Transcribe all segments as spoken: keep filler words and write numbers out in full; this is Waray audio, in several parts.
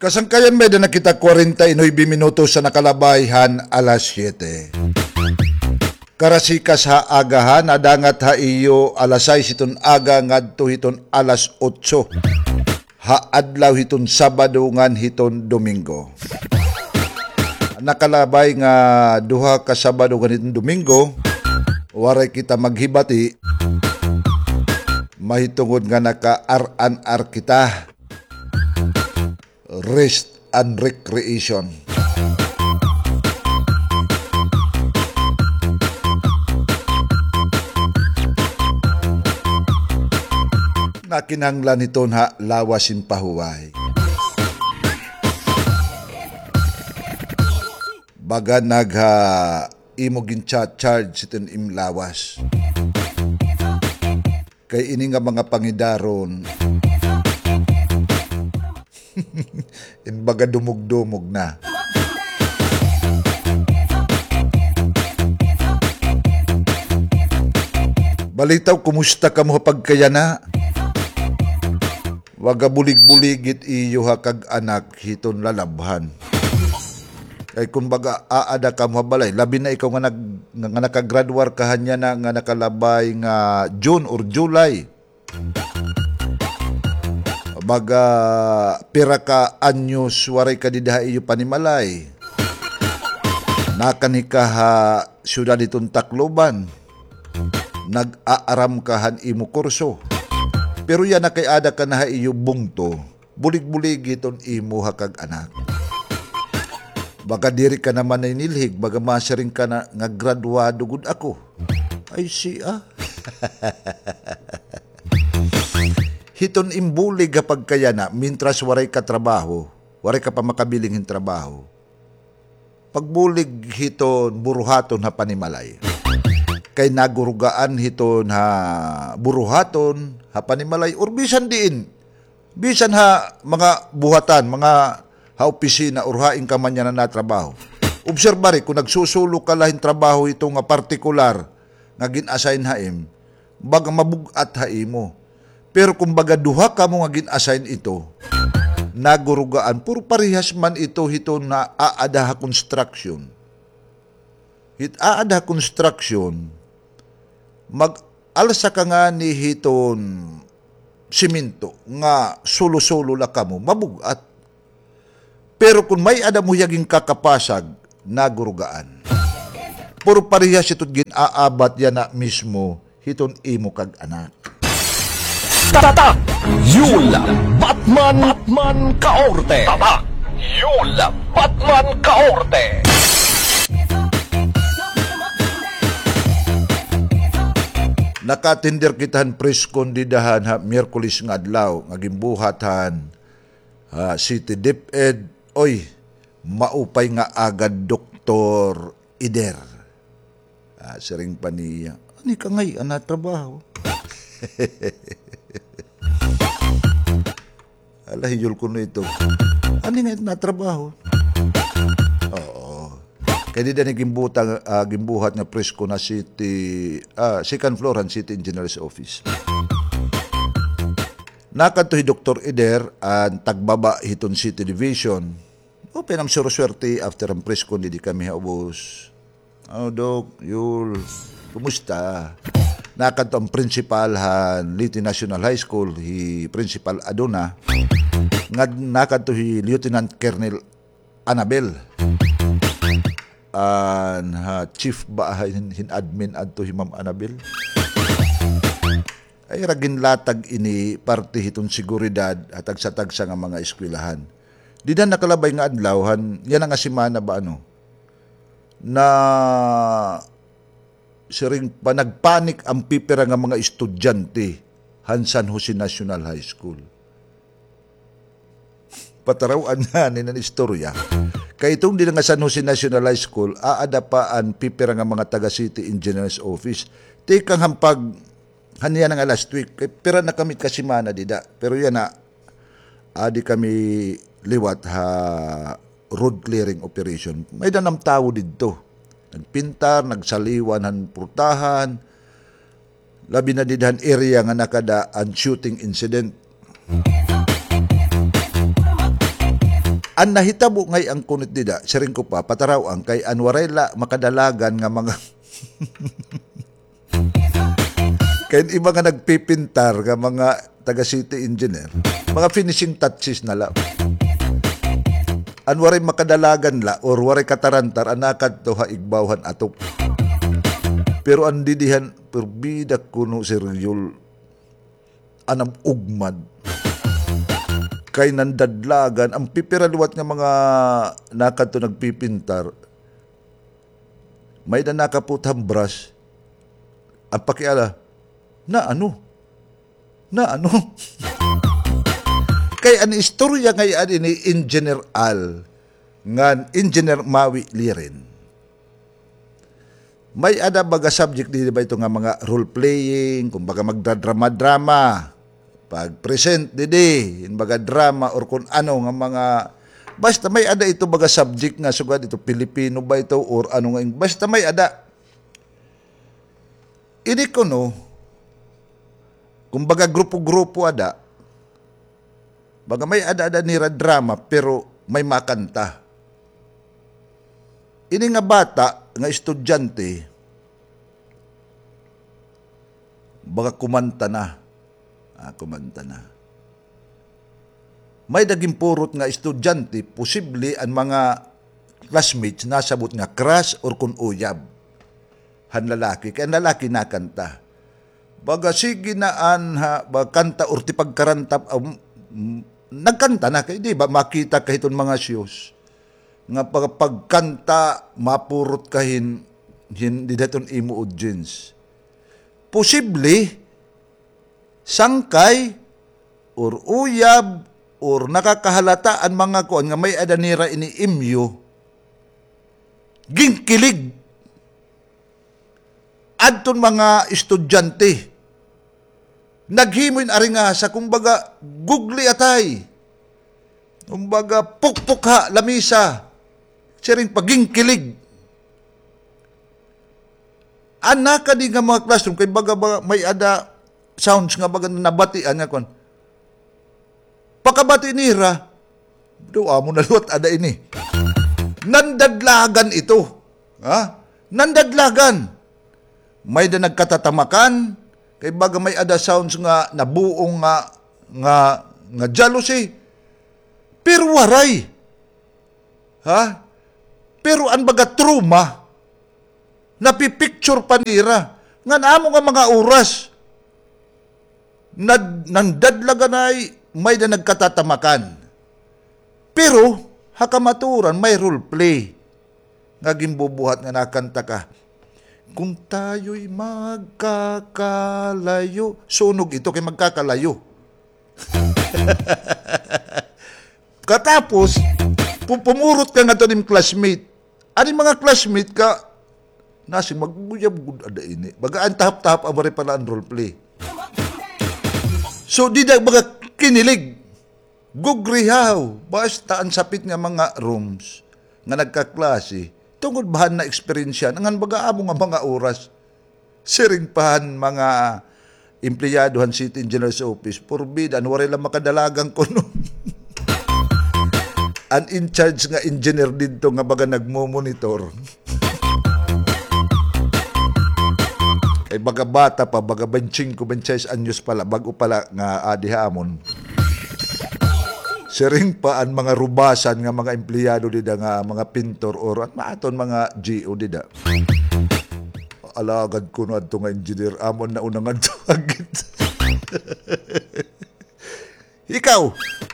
Kasangkayan, may-ada na kita kwarenta y nuebe minutos ha nakalabay han alas siyete. Karasikas ha aga, ha, nadangat ha iyo alas sais hiton aga ngadto hiton alas otso ha adlaw hiton Sabado ngan hiton Domingo. Nakalabay nga duha ka Sabado ngan hiton Domingo, waray kita maghibati, mahitungod nga naka-R and R kita. Rest and recreation. Nakinahanglan hiton ha lawas hin pahuway. Baga nagha imo gin-cha-charge hiton im lawas. Kay ini nga mga pangidaron, in baga dumugdumog na. Balitaw, kumusta kamo ha pagkayana? Waga bulig-bulig it iyo ha kag-anak hiton lalabhan. Kay kun baga aada kamo ha balay, labi na ikaw nga nag-, nga, nga nakagraduar ka han yana nga nakalabay nga June or July. Baga pira ka anyos waray ka dida ha iyo panimalay. Nakanhi ka ha syudad hiton Tacloban. Nag-aaram ka han imo kurso. Pero yana kay aada ka na ha iyo bungto. Bulig-bulig hiton imo ha kag-anak. Baga diri ka naman naninilhig, baga masiring ka na nga graduado gud ako. Ay, siya. Hiton im bulig ha pagkayana, mintras waray ka trabaho, waray ka pa makabiling hin trabaho. Pagbulig hiton buruhaton ha panimalay. Kay nagurugaan hiton ha buruhaton ha panimalay or bisan diin. Bisan ha mga buhatan, mga ha opisina or hain ka man yana natrabaho. Obserbari, kun nagsusulo ka la hin trabaho hito nga partikular nga gin-assign ha im, baga mabug-at ha imo. Pero kun baga duha kamo nga gin-assign ito, nagurugaan, puro parehas man ito hiton aada ha construction. Hit aada ha construction, mag-alsa ka ngani hiton semento nga sulo-sulo la kamo, mabug-at. Pero kun may-ada mo hiya ginkakapasag, nagurugaan. Puro parehas ito gin-aabat yana mismo hiton imo kag-anak. Tatak Yul Batman, Batman Kaorte. Tatak Yul Batman Kaorte. Naka-attender kita han press con dida han ha Miyerkules nga adlaw nga ginbuhat han ha City DepEd, oy, maupay nga agad, Doktor Eder. Ah, siring pa niya, "Ani ka ngay-an natrabaho?" Ala, hiyol kuno ito. "Ani ngay-an natrabaho?" Oo. Kay dida ini ginbuta-, ah, ginbuhat nga press con ha city, ah, second floor han city engineer's office. Nakadto hi Doktor Eder, an tagbaba hiton City Division. Upay nga suruswerte, after han press con, didi kami ha ubos. "Oh, Doc Yul, kumusta?" Nakadto an principal han Leyte National High School, hi Principal Aduna. Ngad-, nakadto hi Lieutenant Colonel Annabel. An, ha, chief ba hin, hin admin adto hi Ma'am Annabel? Ay, ira ginlatag ini parte hiton seguridad ha tagsa-tagsa nga mga eskwelahan. Dida han nakalabay nga adlaw, han yana nga semana ba, ano, na siring pa, nagpanic an pipira nga mga estudyante han San Jose National High School. Pataraw-an ngani an istorya. Kay iton dida nga San Jose National High School, aada pa an pipira nga mga taga City Engineer's Office. Tikang han pag-, han yana nga last week, kay pira na kami ka semana dida. Pero yana, adi kami liwat ha road clearing operation. May-ada nam tawo didto. Nagpintar, nagsaliwan han purtahan, labi na dida han area nga nakada an shooting incident. An nahitabo ngay-an kuno it dida, siring ko pa, pataraw-an kay an waray la makadalagan nga mga kay an iba nga nagpipintar nga mga taga city engineer, mga finishing touches na la. An waray makadalagan la or waray katarantar an nakadto ha igbaw han atop. Pero an didi han, purbida kuno, Sir Yul, an am-ugmad. Kay nandadlagan, an pipira liwat nga mga nakadto nagpipintar, may-ada nakaputhan brush, an pakiana, na ano? Na ano? Kay an istorya ngay-an ini Engineer Al, ngan Engineer Mawi Liren. May-ada baga subject didi ba ito nga mga role-playing, kumbaga magdadrama-drama, pag-present didi, hin baga drama or kun ano nga mga, basta may-ada ito baga subject nga sugad ito Pilipino ba ito or ano nga, basta may-ada. Ini kuno, kumbaga grupo-grupo ada, baga may-ada-ada nira drama, pero may makanta. Ini nga bata, nga estudyante, baga kumanta na. Ah, kumanta na. May-ada ginpurot nga estudyante, posible an mga classmates nasabot nga crush or kun uyab han lalaki. Kay an lalaki nakanta. Baga sige na an ha, ba, kanta or tipagkaranta, um, mm, nagkanta na kay, di ba, makita ka hiton mga shows nga pag-, pagkanta, mapurot ka hin, hin, dida hiton imo audience. Posible, sangkay, or uyab, or nakakahalata an mga kuan nga may-ada nira ini imyo, ginkilig adton mga estudyante. Naghimo hin aringasa, kumbaga, gugli atay. Kumbaga, pukpok ha lamisa. Siring pa, ginkilig. An nakadi nga mga classroom, kay baga, baga may-ada sounds nga baga nabatian nga kuan. Pakabati nira, daw amo na liwat ada ini. Nandadlagan ito. Ha? Nandadlagan. May-ada nagkatatamakan, kay baga may-ada sounds nga nabuong nga, nga, nga jealousy. Pero waray. Ha? Pero an baga trauma, napipicture pa nira. Ngan amo nga mga oras, nad-, nandadlaganay, may-ada nagkatatamakan. Pero, ha kamatuoran, may role play nga ginbubuhat nga nakanta ka, "Kung tayo'y magkakalayo." Sunog ito kay magkakalayo. Katapos, pu-, pumurot ka ngadto nim classmate. An im mga classmate ka, nasing mag-uyab gud ada ini. Baga an tahap-tahap, amo rin pala an role play. So, dida baga kinilig. Gugrihaw. Basta an sapit nga mga rooms nga nagkaklase, tungod ba han na-eksperyensya, ngan baga amo nga mga oras. Siring pa han mga empleyado han city engineer's office, purbida, an waray la makadalagan kuno. An in charge nga engineer didto nga baga nagmo-monitor. Ay, baga bata pa, baga baynte singko, baynte sais anyos pa la, bag-o pa la nga adi ha amon. Siring pa an mga rubasan nga mga empleyado dida nga mga pintor or an aton mga G O dida. Alagad kuno adto nga engineer, amo an nauna ngadto agit. Ikaw,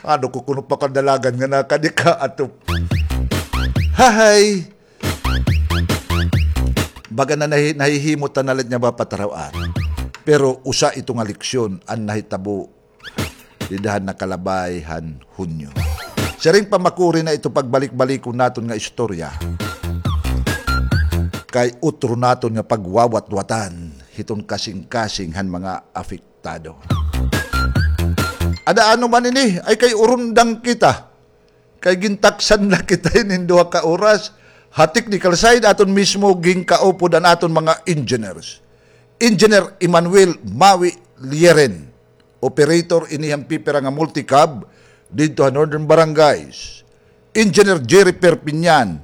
ano ko kuno pakadalagan nga nakadi ka ato? Hahay! Baga na nahi-, nahihimo ta na la nga mapataraw-an. Pero usa ito nga leksyon an nahitabo dida han nakalabay han Hunyo. Siring pa, makuri na ito pagbalik-balikon naton nga istorya. Kay utro naton nga pagwawatwatan hiton kasingkasing han mga apektado. Ada ano man ini, ay kay urundang kita. Kay gintaksan la kita hinin duha ka oras. Ha technical side, aton mismo ginkaupod an aton mga engineers. Engineer Emmanuel Mawi Lieren, operator ini han pipira nga multicab didto ha Northern Barangays. Engineer Jerry Perpignan,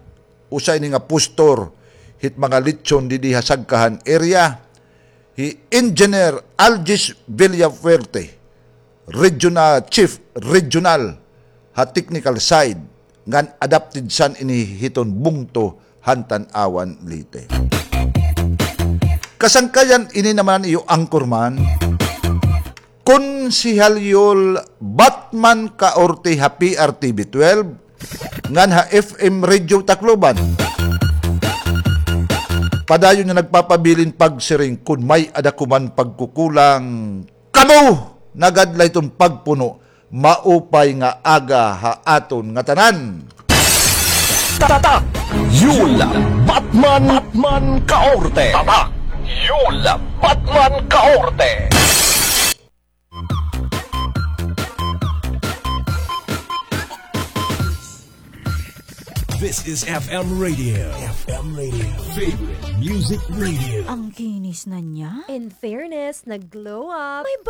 usa ini nga postor hit mga litson didi ha Sagkahan area. Hi Engineer Algis Villafuerte, Regional Chief Regional ha technical side, ngan adopted son ini hiton bungto han Tanauan, Leyte. Kasangkayan ini naman iyo anchorman, Konsehal Yul Batman Caorte ha P R T V twelve, ngan ha F M Radio Tacloban. Padayon nga nagpapabilin pagsiring, kon may-ada ko man pagkukulang, kamo na gad la iton pagpuno. Maupay nga aga ha aton ngatanan. Tatak Yul Batman, Batman Caorte. Tatak Yul Batman Caorte. This is F M Radio. F M Radio. Favorite Music Radio. Ang kinis na niya. In fairness, nag-glow up. May